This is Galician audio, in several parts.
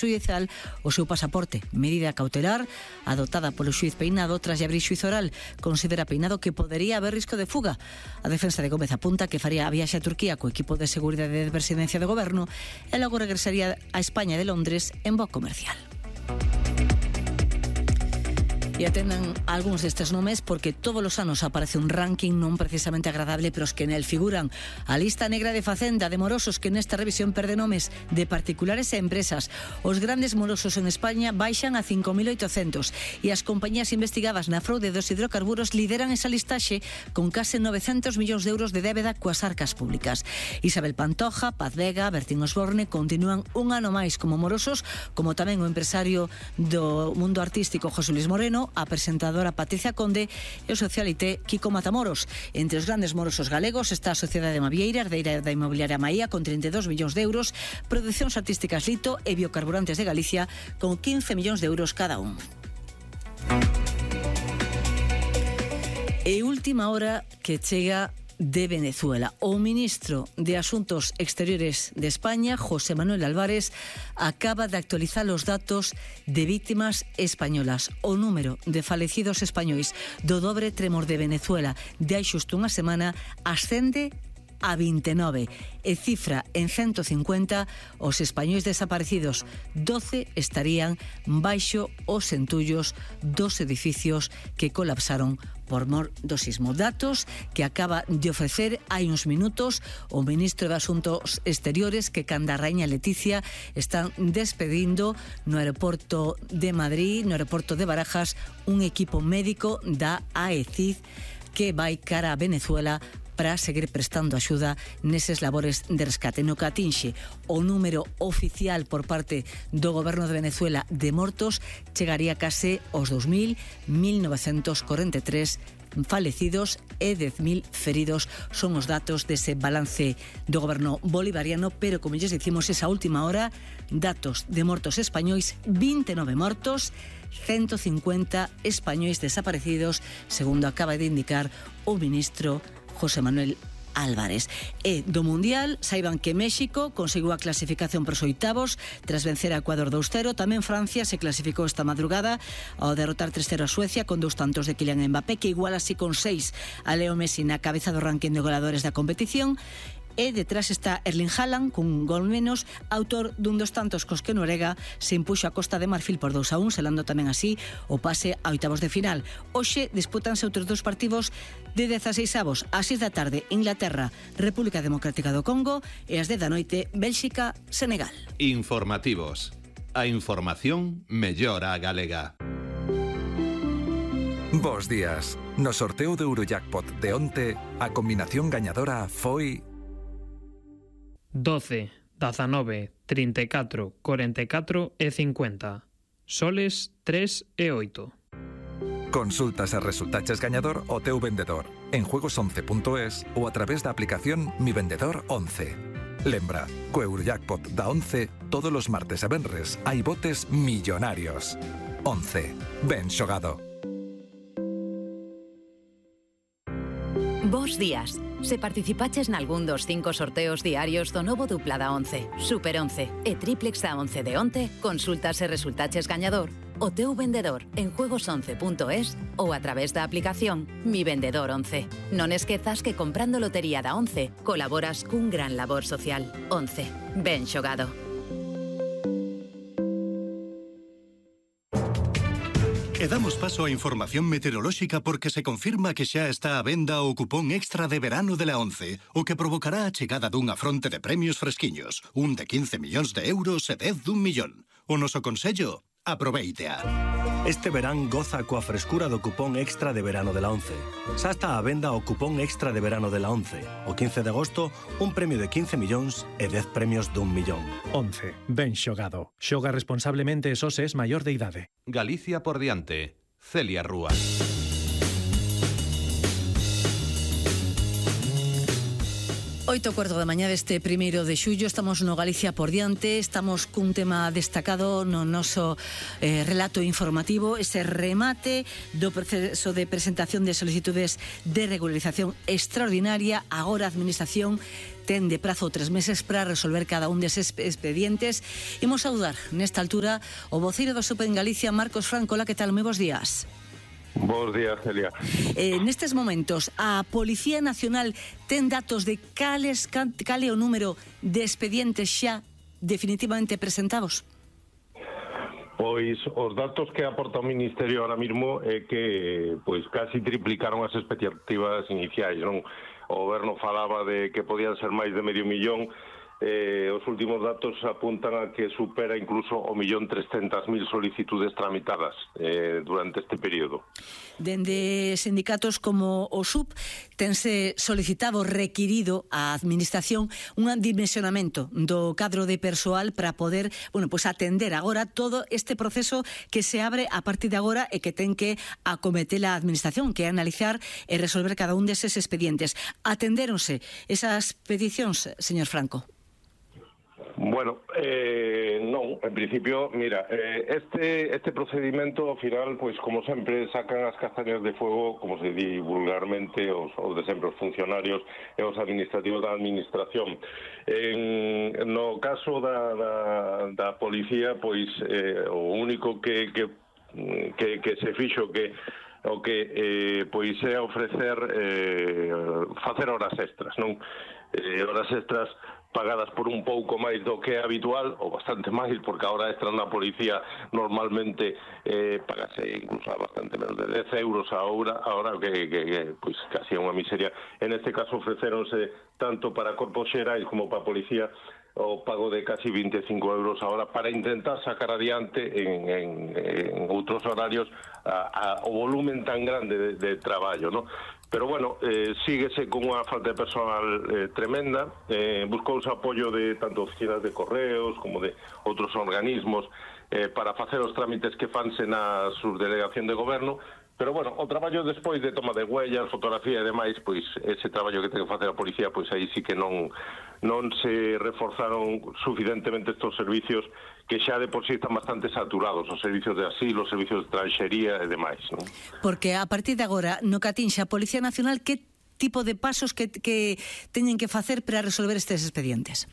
xudicial o seu pasaporte. Medida cautelar adoptada polo xuiz Peinado tras abrir xuizo oral. Considera Peinado que podería haber risco de fuga. A defensa de Gómez apunta que faría a viaxe a Turquía co equipo de seguridade de presidencia do goberno e logo regresaría a España de Londres en voo comercial. E atendan algúns destes nomes porque todos os anos aparece un ranking non precisamente agradable, pero os que nel figuran. A lista negra de Facenda de morosos que nesta revisión perde nomes de particulares e empresas. Os grandes morosos en España baixan a 5.800 e as compañías investigadas na fraude dos hidrocarburos lideran esa listaxe con case 900 millóns de euros de débeda coas arcas públicas. Isabel Pantoja, Paz Vega, Bertín Osborne continúan un ano máis como morosos, como tamén o empresario do mundo artístico José Luis Moreno, a presentadora Patricia Conde e o socialité Kiko Matamoros. Entre os grandes morosos galegos está a Sociedade Mavieira, herdeira da inmobiliaria Maía, con 32 millóns de euros, Producións Artísticas Lito e Biocarburantes de Galicia, con 15 millóns de euros cada un. E última hora que chega de Venezuela. O ministro de Asuntos Exteriores de España, José Manuel Álvarez, acaba de actualizar os datos de víctimas españolas. O número de falecidos españois do dobre tremor de Venezuela de hai xusto unha semana ascende a 29 e cifra en 150 os españois desaparecidos. 12 estarían baixo os entullos dos edificios que colapsaron por mor do sismo. Datos que acaba de ofrecer hai uns minutos o ministro de Asuntos Exteriores, que canda a raíña Leticia están despedindo no aeroporto de Madrid, no aeroporto de Barajas, un equipo médico da AECID que vai cara a Venezuela para seguir prestando axuda neses labores de rescate. No que atinxe o número oficial por parte do goberno de Venezuela de mortos chegaría case aos 2.943 falecidos e 10.000 feridos. Son os datos dese balance do goberno bolivariano, pero como lles dicimos esa última hora, datos de mortos españois, 29 mortos, 150 españois desaparecidos, segundo acaba de indicar o ministro José Manuel Álvarez. E do Mundial, saiban que México conseguiu a clasificación para os oitavos tras vencer a Ecuador 2-0. Tamén Francia se clasificou esta madrugada ao derrotar 3-0 a Suecia con 2 tantos de Kylian Mbappé, que igual así con 6 a Leo Messi na cabeza do ranking de goleadores da competición. E detrás está Erling Haaland cun gol menos, autor dun dos tantos cos que Noruega se impuxo a Costa de Marfil por 2-1, selando tamén así o pase a oitavos de final. Hoxe disputanse outros dos partidos de 16avos. Ás 6 da tarde, Inglaterra, República Democrática do Congo, e ás 10 da noite, Bélxica, Senegal. Informativos. A información mellora a galega. Bos días. No sorteo de Eurojackpot de onte, a combinación gañadora foi 12, 19, 34, 44 e 50. Soles 3 e 8. Consultas e resultaches gañador o teu vendedor en juegos11.es ou a través da aplicación Mi Vendedor 11. Lembra, co Eurojackpot da 11, todos os martes e venres hai botes millonarios. 11. Ben xogado. Bos días. Se participaches nalgún dos 5 sorteos diarios do novo dupla da 11, Super 11 e Triplex da 11 de onte, consultas e resultaches gañador o teu vendedor en juegos11.es ou a través da aplicación Mi Vendedor 11. Non esquezas que comprando lotería da 11 colaboras cun gran labor social. 11. Ben xogado. E damos paso á información meteorolóxica porque se confirma que xa está á venda o cupón extra de verano de la 11, o que provocará a chegada dunha fronte de premios fresquiños, un de 15 millóns de euros e 10 d'1 millón. O noso consello, aproveítea. Este verán goza coa frescura do cupón extra de verano de la 11. Xa está á venda o cupón extra de verano de la 11. O 15 de agosto, un premio de 15 millóns e 10 premios d'1 millón. 11. Ben xogado. Xoga responsablemente e só se es maior de idade. Galicia por diante. Celia Rúa. 8:15 da mañá deste 1º de xullo. Estamos no Galicia por diante. Estamos cun tema destacado no noso relato informativo, ese remate do proceso de presentación de solicitudes de regularización extraordinaria. Agora a Administración ten de prazo 3 meses para resolver cada un deses expedientes. Imos saudar nesta altura o voceiro do SUP en Galicia, Marcos Franco. Hola, que tal? Moi bons días. Bos días, Celia. Nestes momentos, a Policía Nacional ten datos de cale o número de expedientes xa definitivamente presentados? Pois os datos que aporta o Ministerio ahora mismo é que pois casi triplicaron as expectativas iniciais, non? O Goberno falaba de que podían ser máis de 500.000. Os últimos datos apuntan a que supera incluso 1.300.000 solicitudes tramitadas durante este período. Dende sindicatos como o SUP tense solicitado, requirido a Administración un dimensionamento do cadro de persoal para poder, pues atender agora todo este proceso que se abre a partir de agora e que ten que acometer a Administración, que é analizar e resolver cada un deses expedientes. Atendéronse esas peticións, señor Franco? Bueno, non, en principio, mira, este procedimento, ao final, pois, como sempre, sacan as castañas de fuego, como se di vulgarmente, os de sempre, os funcionarios e os administrativos da Administración. No caso da policía, pois, o único que se fixo pois é ofrecer facer horas extras, non? Horas extras pagadas por un pouco máis do que é habitual, ou bastante máis, porque a hora extra na policía normalmente pagase incluso a bastante menos de 10 euros a hora que pois casi é unha miseria. En este caso ofreceronse tanto para corpos xerais como para a policía o pago de casi 25 euros a hora para intentar sacar adiante en outros horarios o volumen tan grande de traballo, ¿no? Pero bueno, síguese con unha falta de personal tremenda. Buscouse apoio de tanto oficinas de correos como de outros organismos para facer os trámites que fanse na subdelegación de goberno. Pero bueno, o traballo despois de toma de huellas, fotografía e demais, pois ese traballo que ten que facer a policía, pois aí sí que non se reforzaron suficientemente estos servicios que xa de por sí están bastante saturados, os servicios de asilo, os servicios de extranxería e demais, non? Porque a partir de agora, no que atinxe a Policía Nacional, que tipo de pasos que teñen que facer para resolver estes expedientes?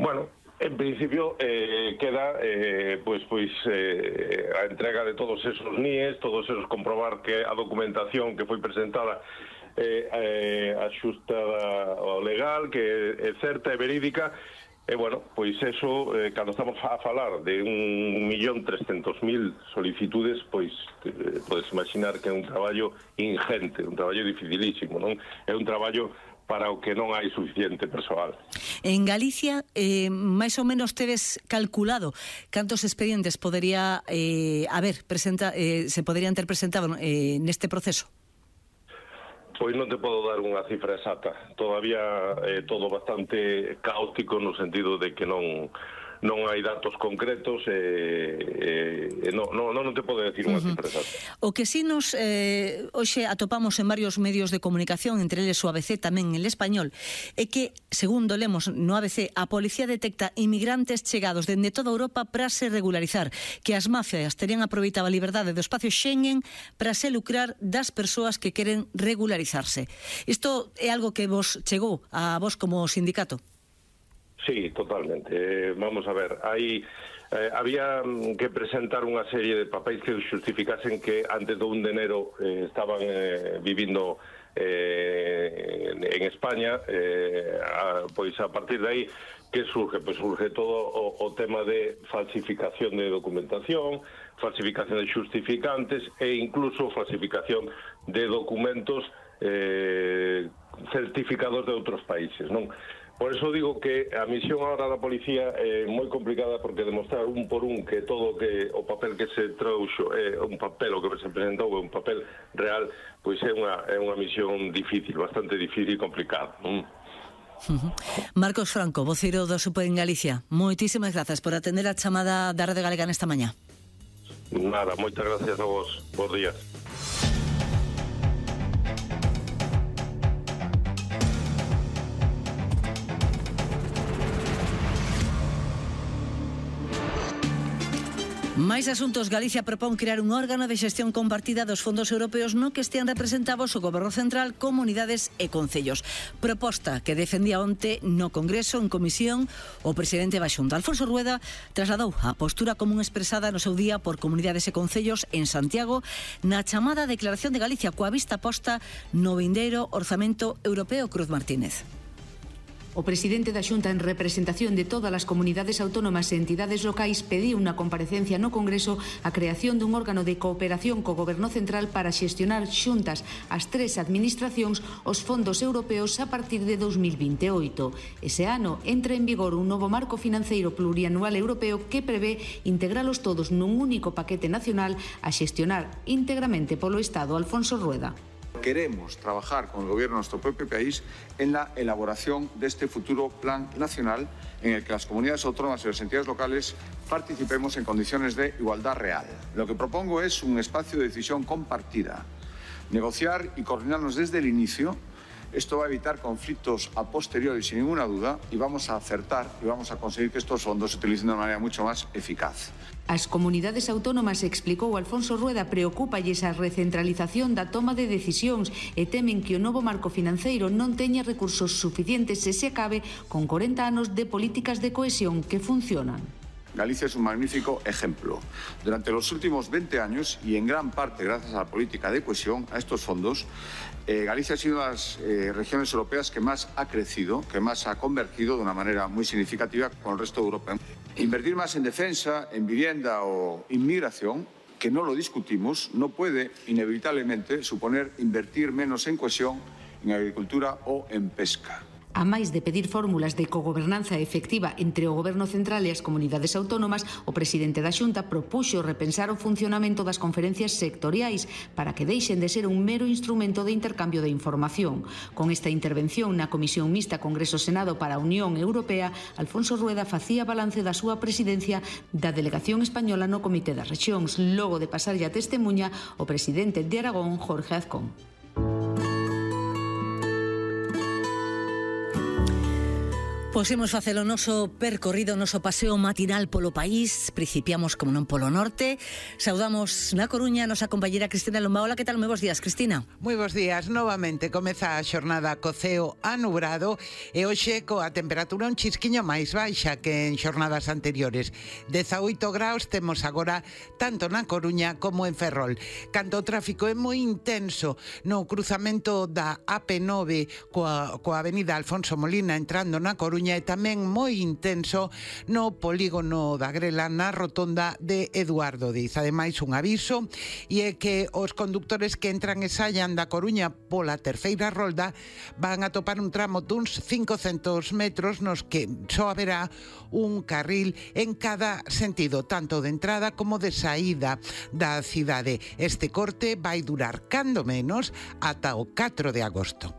Bueno, en principio queda a entrega de todos esos NIEs, todos esos comprobar que a documentación que foi presentada axustada ao legal, que é certa e verídica. E, bueno, pois eso, cando estamos a falar de 1.300.000 solicitudes, pois podes imaginar que é un traballo ingente, un traballo dificilísimo, non? É un traballo para o que non hai suficiente persoal. En Galicia, máis ou menos tedes calculado cantos expedientes podería se poderían ter presentado neste proceso? Pois non te podo dar unha cifra exacta. Todavía é todo bastante caótico no sentido de que non hai datos concretos non te podo decir unha cifra exacta. O que si nos hoxe atopamos en varios medios de comunicación, entre eles o ABC, tamén el Español, é que, segundo lemos no ABC, a policía detecta inmigrantes chegados dende toda Europa para se regularizar, que as mafias terían aproveitado a liberdade do espacio Schengen para se lucrar das persoas que queren regularizarse. Isto é algo que vos chegou a vos como sindicato? Sí, totalmente. Vamos a ver, había que presentar unha serie de papéis que justificasen que antes do 1 de enero estaban vivindo en España. Pois a partir de aí, que surge? Pois surge todo o tema de falsificación de documentación, falsificación de justificantes e incluso falsificación de documentos certificados de outros países, non? Por eso digo que a misión agora da policía é moi complicada, porque demostrar un por un que todo o papel que se trouxo é un papel, o que se presentou é un papel real, pois é unha misión difícil, bastante difícil e complicada. Marcos Franco, voceiro do SUP en Galicia, moitísimas grazas por atender a chamada da Rede Galega nesta mañá. Nada, moitas gracias a vos. Bos días. Máis asuntos. Galicia propón crear un órgano de xestión compartida dos fondos europeos no que estean representados o Goberno Central, comunidades e concellos. Proposta que defendía onte no Congreso en comisión o presidente da Xunta. Alfonso Rueda trasladou a postura común expresada no seu día por comunidades e concellos en Santiago na chamada Declaración de Galicia coa vista posta no vindeiro Orzamento Europeo. Cruz Martínez. O presidente da Xunta, en representación de todas as comunidades autónomas e entidades locais, pediu unha comparecencia no Congreso a creación dun órgano de cooperación co Goberno Central para xestionar xuntas as tres administracións os fondos europeos a partir de 2028. Ese ano entra en vigor un novo marco financeiro plurianual europeo que prevé integralos todos nun único paquete nacional a xestionar íntegramente polo Estado. Alfonso Rueda. Queremos trabajar con el gobierno de nuestro propio país en la elaboración de este futuro plan nacional en el que las comunidades autónomas y las entidades locales participemos en condiciones de igualdad real. Lo que propongo es un espacio de decisión compartida, negociar y coordinarnos desde el inicio. Esto va a evitar conflictos a posteriori sin ninguna duda y vamos a acertar y vamos a conseguir que estos fondos se utilicen de una manera mucho más eficaz. As comunidades autónomas, explicou Alfonso Rueda, preocúpalles a recentralización da toma de decisións e temen que o novo marco financeiro non teña recursos suficientes se acabe con 40 anos de políticas de cohesión que funcionan. Galicia es un magnífico ejemplo. Durante los últimos 20 años, y en gran parte gracias a la política de cohesión, a estos fondos, Galicia ha sido una de las regiones europeas que más ha crecido, que más ha convergido de una manera muy significativa con el resto de Europa. Invertir más en defensa, en vivienda o inmigración, que no lo discutimos, no puede inevitablemente suponer invertir menos en cohesión, en agricultura o en pesca. A máis de pedir fórmulas de cogobernanza efectiva entre o Goberno Central e as comunidades autónomas, o presidente da Xunta propuxo repensar o funcionamento das conferencias sectoriais para que deixen de ser un mero instrumento de intercambio de información. Con esta intervención na Comisión Mixta Congreso-Senado para a Unión Europea, Alfonso Rueda facía balance da súa presidencia da delegación española no Comité das Rexións, logo de pasarlle a testemunha o presidente de Aragón, Jorge Azcón. Pois imos facer o noso percorrido, o noso paseo matinal polo país. Principiamos, como non, polo norte. Saudamos na Coruña a nosa compañera Cristina Lomba. Hola, que tal? Moi bons días, Cristina. Moi bons días. Novamente comeza a xornada co ceo anubrado e hoxe coa temperatura un chisquiño máis baixa que en xornadas anteriores. 18 graus temos agora tanto na Coruña como en Ferrol. Canto o tráfico é moi intenso no cruzamento da AP9 coa avenida Alfonso Molina entrando na Coruña, e tamén moi intenso no polígono da Grela na rotonda de Eduardo Diz. Ademais, un aviso e é que os condutores que entran e saian da Coruña pola terceira rolda van a topar un tramo duns 500 metros nos que só haberá un carril en cada sentido, tanto de entrada como de saída da cidade. Este corte vai durar cando menos ata o 4 de agosto.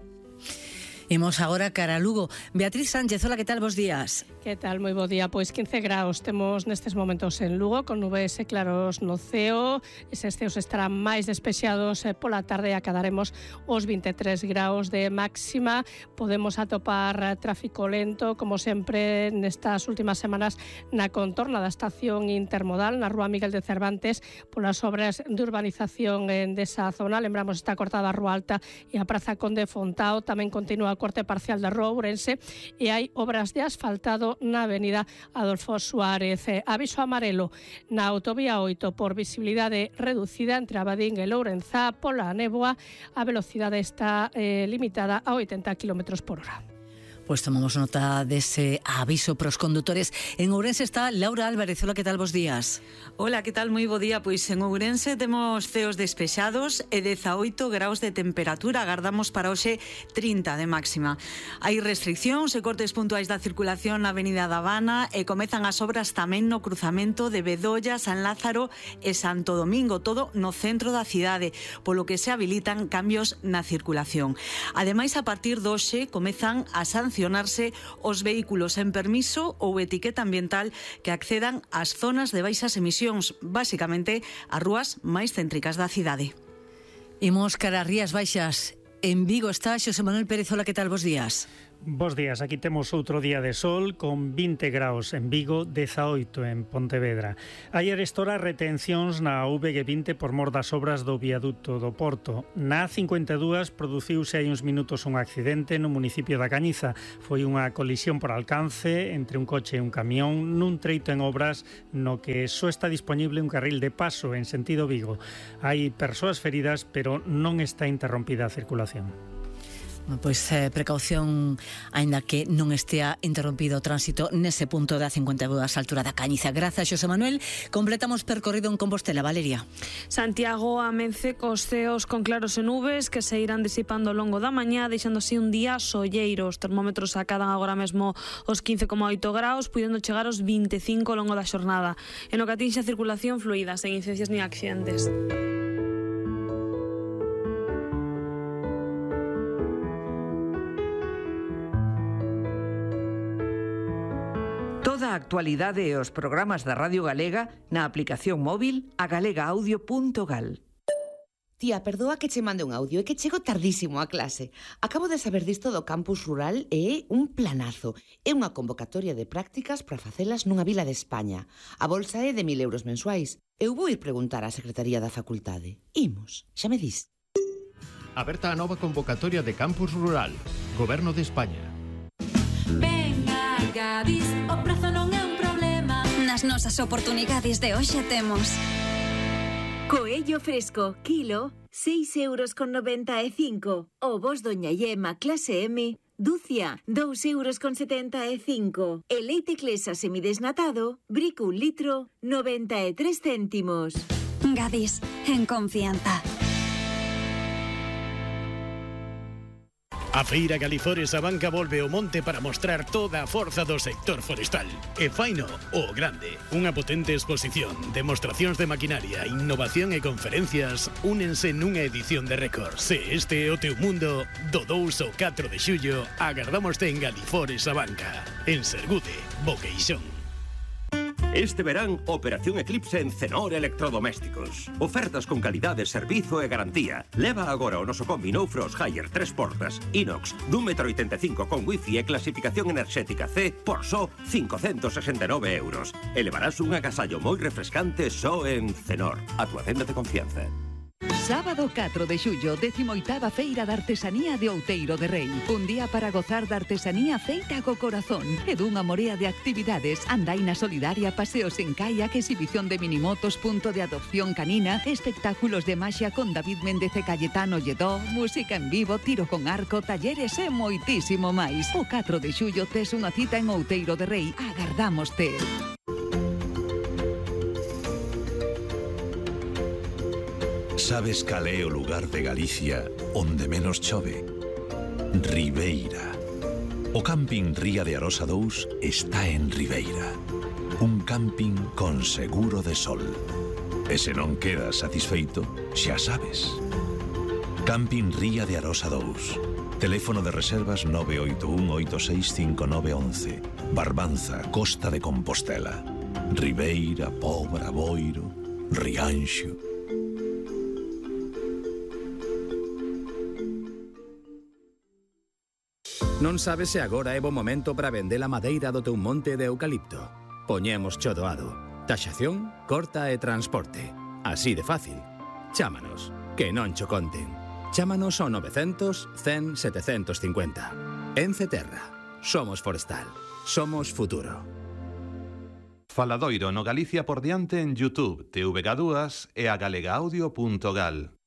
Imos agora cara a Lugo. Beatriz Sánchez, hola, que tal? Bos días. Que tal? Moi bo día. Pois 15 graus temos nestes momentos en Lugo, con nubes e claros no ceo. Eses ceos estarán máis despexados pola tarde e acadaremos os 23 graus de máxima. Podemos atopar tráfico lento, como sempre nestas últimas semanas, na contorna da estación intermodal, na rúa Miguel de Cervantes, polas obras de urbanización desa zona. Lembramos, está cortada a Rúa Alta e a Praza Conde Fontao. Tamén continúa o corte parcial da Rúa Ourense e hai obras de asfaltado na avenida Adolfo Suárez. Aviso amarelo na autovía 8 por visibilidade reducida entre Abadín e Lourenzá pola néboa. A velocidade está limitada a 80 km/h. Pois tomamos nota dese aviso para os condutores. En Ourense está Laura Álvarez. Hola, que tal? Bos días. Hola, que tal? Moi bo día. Pois en Ourense temos ceos despexados e 18 graus de temperatura. Agardamos para hoxe 30 de máxima. Hai restriccións e cortes puntuais da circulación na Avenida da Habana e comezan as obras tamén no cruzamento de Bedolla, San Lázaro e Santo Domingo, todo no centro da cidade, polo que se habilitan cambios na circulación. Ademais, a partir de hoxe comezan a sancionarse os vehículos en permiso ou etiqueta ambiental que accedan ás zonas de baixas emisións, basicamente as rúas máis céntricas da cidade. Imos cara a Rías Baixas. En Vigo está Xosé Manuel Pérez. Hola, que tal? Bos días. Bos días, aquí temos outro día de sol con 20 graus en Vigo, 18 en Pontevedra. Ayer estora retencións na VG20 por mor das obras do viaduto do Porto. Na A52 produciuse hai uns minutos un accidente no municipio da Cañiza. Foi unha colisión por alcance entre un coche e un camión nun treito en obras no que só está disponible un carril de paso en sentido Vigo. Hai persoas feridas, pero non está interrompida a circulación. Pois precaución, aínda que non estea interrompido o tránsito nese punto da 52 a altura da Cañiza. Grazas, Xosé Manuel. Completamos percorrido en Compostela. Valeria. Santiago amence cos ceos con claros e nubes que se irán disipando ao longo da mañá, deixando así un día solleiro. Os termómetros acadan agora mesmo os 15,8 graus, puidendo chegar aos 25 ao longo da xornada. En o que atinxe a circulación fluida, sen incidencias nin accidentes. Toda a actualidade e os programas da Radio Galega na aplicación móvil a galegaaudio.gal. Tía, perdoa que che mande un audio, é que chego tardísimo a clase. Acabo de saber disto do campus rural e é un planazo. É unha convocatoria de prácticas para facelas nunha vila de España. A bolsa é de 1.000 euros mensuais. Eu vou ir preguntar á Secretaría da Facultade. Imos, xa me dis. Aberta a nova convocatoria de campus rural. Goberno de España. Gadis, o prazo non é un problema. Nas nosas oportunidades de hoxe temos coello fresco, kilo, 6,95 €. Ovos Doña Yema clase M, dúcia, 2,75 €. E leite Clesa semidesnatado, brico 1 litro, 93 céntimos. Gadis, en confianza. A Feira Galifores a Banca volve ao monte para mostrar toda a forza do sector forestal. E faino o grande. Unha potente exposición, demostracións de maquinaria, innovación e conferencias únense nunha edición de récord. Se este é o teu mundo, do 2 ao 4 de xullo, agardámoste en Galifores a Banca. En Sergude, Boqueixón. Este verán, Operación Eclipse en Cenor Electrodomésticos. Ofertas con calidade, servizo e garantía. Leva agora o noso combi No Frost Higher 3 portas, inox, d'1,85 m con wifi e clasificación enerxética C por só 569 €. E levarás un agasallo moi refrescante só en Cenor, a tua tenda de confianza. Sábado 4 de xullo, 18ª Feira da Artesanía de Outeiro de Rei. Un día para gozar da artesanía feita co corazón e dunha morea de actividades. Andaina solidaria, paseos en kayak, exhibición de minimotos, punto de adopción canina, espectáculos de maxia con David Méndez e Cayetano Lledó, música en vivo, tiro con arco, talleres e moitísimo máis. O 4 de xullo tes unha cita en Outeiro de Rei. Agardámoste. Sabes cal é o lugar de Galicia onde menos chove? Ribeira. O camping Ría de Arosa 2 está en Ribeira. Un camping con seguro de sol. E se non quedas satisfeito, xa sabes. Camping Ría de Arosa 2. Teléfono de reservas 981-865911. Barbanza, Costa de Compostela. Ribeira, Pobra, Boiro, Rianxo. Non sabes se agora é bo momento para vender a madeira do teu monte de eucalipto. Poñemos cho doado. Taxación, corta e transporte. Así de fácil. Chámanos, que non cho conten. Chámanos ao 900 100 750. Ence Terra. Somos forestal. Somos futuro. Faladoiro no Galicia por diante en YouTube, TVG2 e a galegaaudio.gal.